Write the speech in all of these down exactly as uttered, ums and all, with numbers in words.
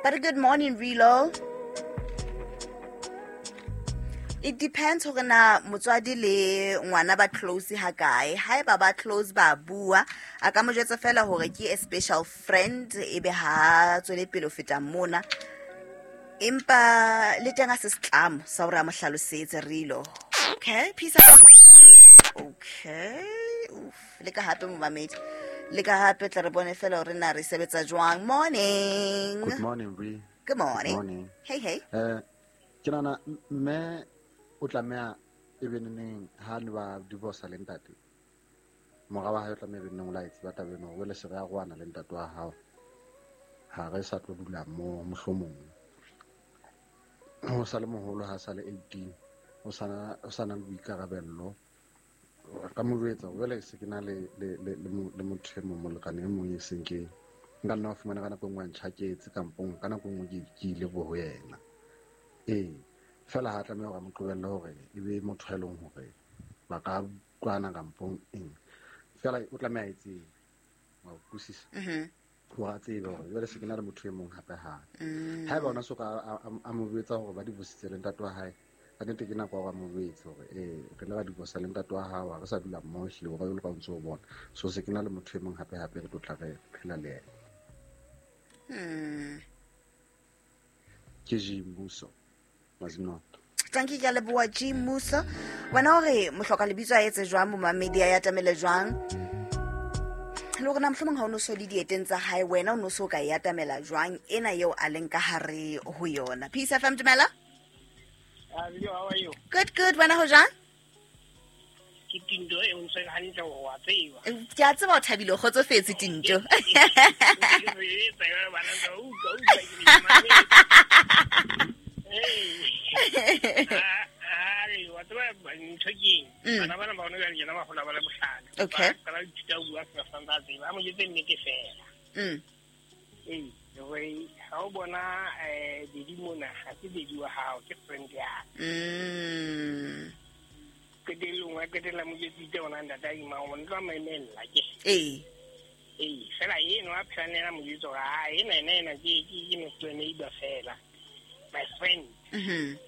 But good morning, Rilo. It depends hore na motswadi le ngwana ba close ha kae. Haeba ba close ba bua, a ka mo jwetsa fela hore ke a special friend ebe ha tswele pele ho feta mona. Empa le teng a se setlamo sa hore a mo hlalosetse Rilo. Okay, peace out. Okay. Oof, le ka hape momamedi. Le ka hape tla re bone fela hore na re sebetsa jwang. Morning. Good morning, Bri. Good morning. Good morning. Hey, hey. Eh, ke nahana mme o tlameha e be neneng ha ne ba divorce le ntate. Mora wa hae o tlameha e be neneng o la e tseba taba eno, hore jwale se re arohana le ntate wa hao. Ha re sa tlo dula mo mohlomong. O sa le moholo ha sa le eighteen, o sa na o sa na le boikarabello. Ka mo jwetsa jwale se ke na le le le le motho e mong, molekane e mong e seng ke nka nna wa fumana ka nako e nngwe a ntjhaketse kampong, ka nako e nngwe ke ke ile bo ho yena. Ee, fela ha tlameha hore a mo qobelle hore e be motho e leng hore ba ka utlwana kampong eng. Fela o tlameha a e tsebe, wa utlwisisa? Mhm. Hore a tsebe hore jwale se ke na le motho e mong hape hape. Mm. Haeba ona so ka a, a, a mo jwetsa hore ba divorcitse le ntate wa hae, ka nnete ke nako ya hore a mo jwetse hore ee, re ile ra divorce le ntate wa hao, ha re sa dula mmoho ehlile hore jwalo ka o ntso o bona. So se ke na le motho e mong hape hape re tlo tla re phela le yena. Hmm. Ke G Muso, Mazinotto. Thank you, ke a leboha G Muso. Wena hore mohloka lebitso a etse jwang, momamedi a atamele jwang? Le hore na mohlomong ha o no so le dieteng tsa hae, wena o no so ka e atamela jwang ena eo a leng ka hare ho yona. Peace F M, dumela. Uh, how are you? Good, good. Wena ho jwang? Ke Tinto e o ntse hantle hore wa tseba. Ke a tseba o thabile, o kgotsofetse Tinto. Okay. Mm. Ee, hore ha o bona eh dedi mona ha se dedi wa hao ke friend ya. Mm. Qetellong wa qetella mo jetsitse ona ntate a ima o ntlo mamella ke. Ee. Ee, fela eno a phela le yena mo jwetsa hore ha ena ena ena ke ke ke next door neighbor fela. My friend. Mhm.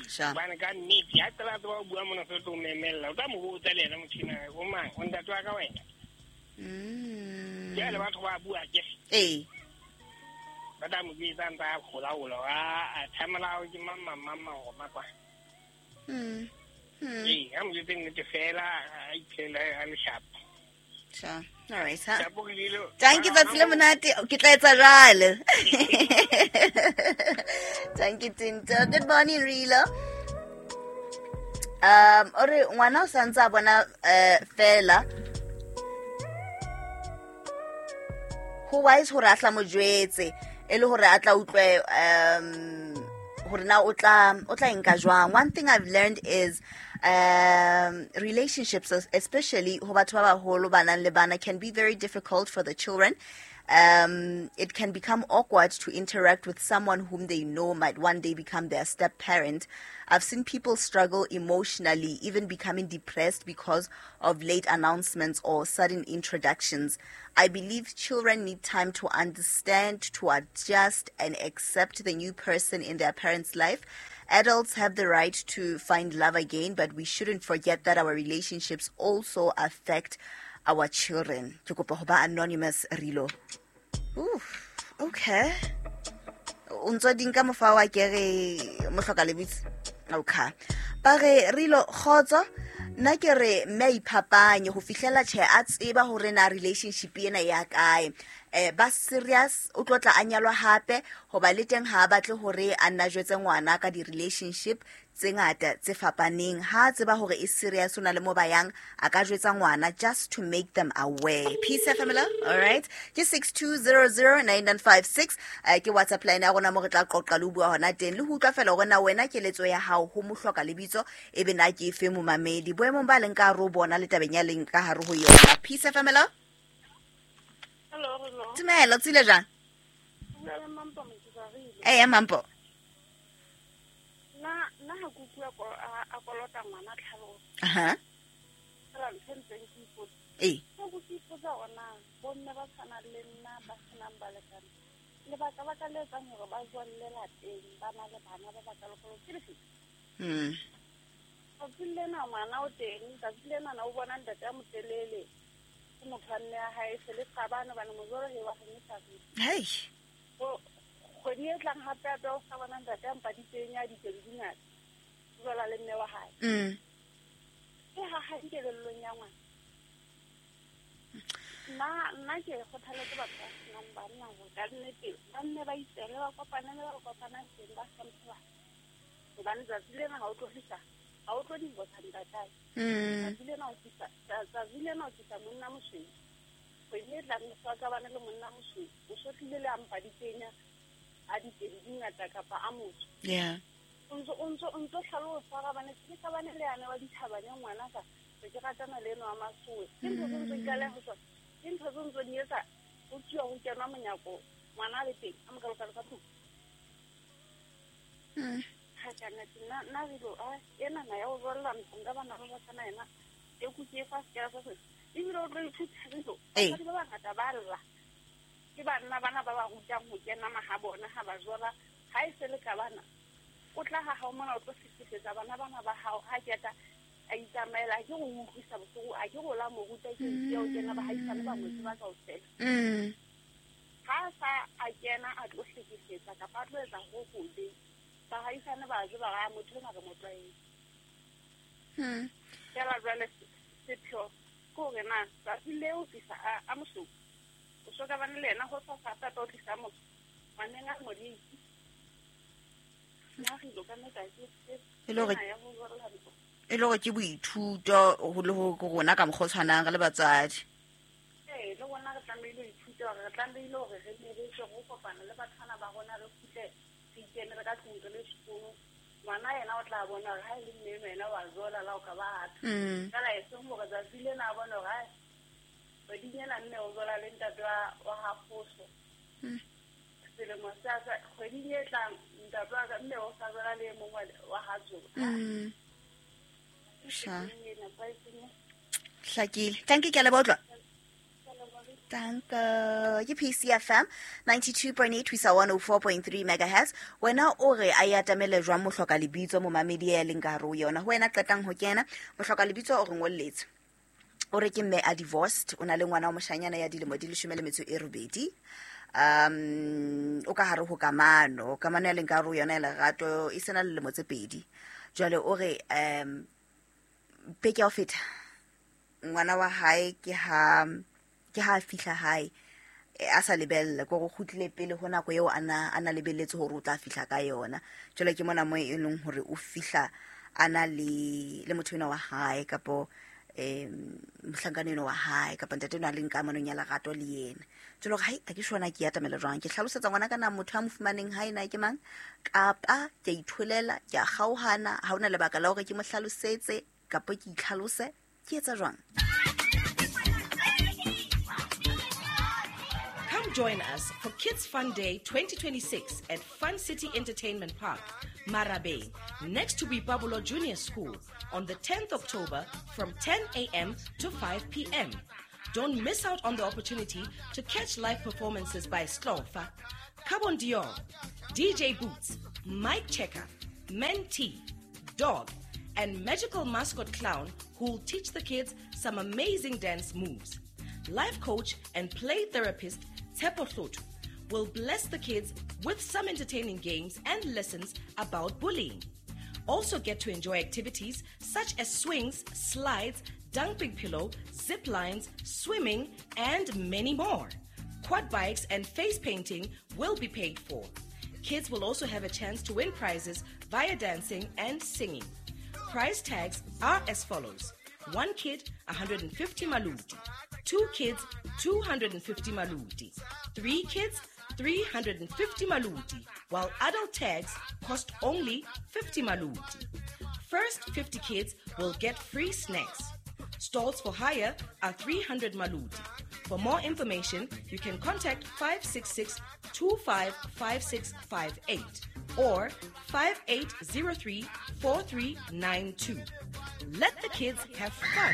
Sure. Bana ka nnete ha qala tseba o bua mona se tlo memella o tla mo botsa le yena motho ena o mang o ntate wa ka wena. Mm. Jwale batho ba bua ke. Ee. Ba tla mo jwetsa ntse a hola hola a thamela ke mama mama go makwa. Mm. Mm. Ee, ha mo jwetse nnete fela a iphela a le sharp. Sure. All right, ha. Shapo ke dilo. Thank you, tsatsi le monate. Ke tla etsa jwale. Thank you, Tinto. Good morning, Rilo. Um, ore ngwana o santse a bona eh fela. Ho wise hore a tla mo jwetse e le hore a tla utlwe um hore na o tla o tla nka jwang. One thing I've learned is um relationships, especially ho batho ba baholo ba nang le bana, can be very difficult for the children. Um, it can become awkward to interact with someone whom they know might one day become their step parent. I've seen people struggle emotionally, even becoming depressed because of late announcements or sudden introductions. I believe children need time to understand, to adjust, and accept the new person in their parents' life. Adults have the right to find love again, but we shouldn't forget that our relationships also affect our children. Ke kopa ho ba anonymous, Rilo. Oof, okay. O ntso di nka mofa wa ke re mohloka lebitso. Okay. Ba re Rilo kgotso, nna ke re mme a iphapanye ho fihlela tjhe a tseba hore na relationship ena ya kae. Eh ba serious o tlo tla a nyalwa hape hoba le teng ha a batle hore a nna jwetse ngwana ka di relationship tse ngata tse fapaneng. Ha tseba hore e serious o na le mo ba yang a ka jwetsa ngwana just to make them aware. Peace F M, all right. Ke six two zero zero nine nine five six eh ke WhatsApp line ya rona mo re tla qoqa le bua hona teng le ho utlwa fela hore na wena keletso ya hao ho mohloka lebitso e be na ke efe momamedi boemong ba leng ka hare ho bona le tabeng ya leng ka hare ho yona. Peace F M. Hello, hello. Dumela, tsile jang? Dumela, Mampo Motsoarile. Eh, Mampo. Na na ha kuku a a kolota ngwana tlhaloso. Aha. Fela ntho ntseng ke ipotsa. Eh. Ke go ke ipotsa hore na bomme ba tshwanang le nna ba senang balekane. Lebaka baka le etsang hore ba jwalle lapeng ba na le bana ba bakalokalo ke lefe? Mm. Tsatsi lena ngwana o teng, tsatsi lena na o bona ntate a motelele. Ke motho wa mme ya hae se le qabane hobane mojolo he wa kganyisa. Hei. O kgwedi e tlang hape hape o sa bona ntate a mpaditseng ya ditedu di ngata. O jwala le mme wa hae. Mm. Ke ha ha kelellong ya ngwana. Nna nna ke kgothaletsa batho ba senang banna hore ka nnete ba nne ba itsele ba kopane le ba kopanang teng ba hlomphe bana. Hobane tsatsi lena ha o tlo fihla, ha o tlo divorce ntatae. Mm. Tsatsi lena o tlisa, tsatsi lena o tlisa monna mosweu. Kgwedi e tlang o ka bana le monna mosweu. O so tlile le a mpaditseng a ditedu di ngata kapa a motho. Yeah. O ntso o ntso o ntso hlalosa ga bane ke ka bane le yane wa dithabane ngwana ka se ke ratana le eno wa masoe. Ke ntho tse ntse di tlaleha ho tsona. Ke ntho tse ntse di etsa ho tsuwa ho kenwa monyako ngwana a le teng a mokalokalo ka tlung. Mm. Ha ka nnete nna nna re lo a ena na ya ho jwalla ntlong ka bana ba ba tshwana yena e kutse e fa sekela sa se. Ebile o tlo ithuta re lo. Ee. Basadi ba bangata ba lla. Ke banna bana ba ba rutang ho kena mahabona ha ba jola ha e se le ka bana. O tla ha hao mona o tlo hlekefetsa bana bana ba hao ha keta a itsamaela a ke go utlwisa bohloko a ke go la mo ruta ke ntse o kena ba haisane ba mo tseba kaofela. Mm. Ha sa a kena a tlo hlekefetsa kapa a tlo etsa ho hobe ba haisane ba tseba ga motho ena re mo tlwaetse. Mm. Fela jwale sepheo ke hore na tsatsi leo tlisa a a mosweu o so ka bane le yena ho sa sa tata o tlisa motho ngwaneng a modisi. Nna re ilo ka nnete ha ke E le hore ena ya ho jwalla ntlo. e le hore ke boithuto ho le ho rona ka mokgwa o tshwanang re le batswadi. Ee, le rona re tlamehile ho ithuta hore re tlamehile hore re nne re tswe ho kopana le bathwana ba rona re kgutle re ikenele ka tlung re le sekolo. Ngwana yena o tla bona hore ha e le mme enwa yena wa jola la o ka batho. Mm. Fela e seng hore tsatsi lena a bone hore hai kgweding ena mme o jola le ntate wa wa ha Kgoso. Mm. Selemo sa sa kgweding e tlang ntate wa ka mme o sa jola le e mong wa wa ha Tsoba. Mm. Sha. Ke e nepahetseng. Hlakile. Thank you, ke a leboha utlwa. Ke a leboha. Danke. Ke P C F M ninety-two point eight ho isa one oh four point three megahertz. Wena o re a e atamele jwang mohloka lebitso momamedi ya leng ka hare ho yona. Ho wena qetang ho kena mohloka lebitso o re ngolletse. O re ke mme a divorced, o na le ngwana wa moshanyana ya dilemo di leshome le metso e robedi. Um o ka hare ho kamano, kamano ya leng ka hare ho yona ya lerato e sena le lemo tse pedi. Jwale o re um beke ya ho feta ngwana wa hae ke ha ke ha a fihla hae a sa lebella ke hore o kgutlile pele ho nako eo a na a na lebelletse hore o tla fihla ka yona. Jwale ke mona mo e leng hore o fihla a na le le motho enwa wa hae kapo em mohlankana enwa wa hae kapa ntate enwa a leng kamanong ya lerato le yena. Jwale hore hai a ke shona ke atamela jwang ke hlalosetsa ngwana ka na motho a mo fumaneng hae na ke mang kapa ke a itholela ke a kgaohana ha hona lebaka la hore ke mo hlalosetse kapa ke itlhalose ke etsa jwang. Come join us for Kids Fun Day twenty twenty-six at Fun City Entertainment Park, Marabeng, next to Boipabolo Junior School on the tenth of October from ten A M to five P M. Don't miss out on the opportunity to catch live performances by Slofa, Carbon Dior, D J Boots, Mike Checker, Men T, Dog, and magical mascot clown who'll teach the kids some amazing dance moves. Life coach and play therapist Tshepo Hloto will bless the kids with some entertaining games and lessons about bullying. Also get to enjoy activities such as swings, slides, dumping pillow, zip lines, swimming, and many more. Quad bikes and face painting will be paid for. Kids will also have a chance to win prizes via dancing and singing. Price tags are as follows. One kid, a hundred and fifty maluti. Two kids, two hundred and fifty maluti. Three kids, three hundred and fifty maluti, while adult tags cost only fifty maluti. First fifty kids will get free snacks. Stalls for hire are three hundred maluti. For more information, you can contact five six six, two five five six five eight or five eight zero three, four three nine two. Let the kids have fun.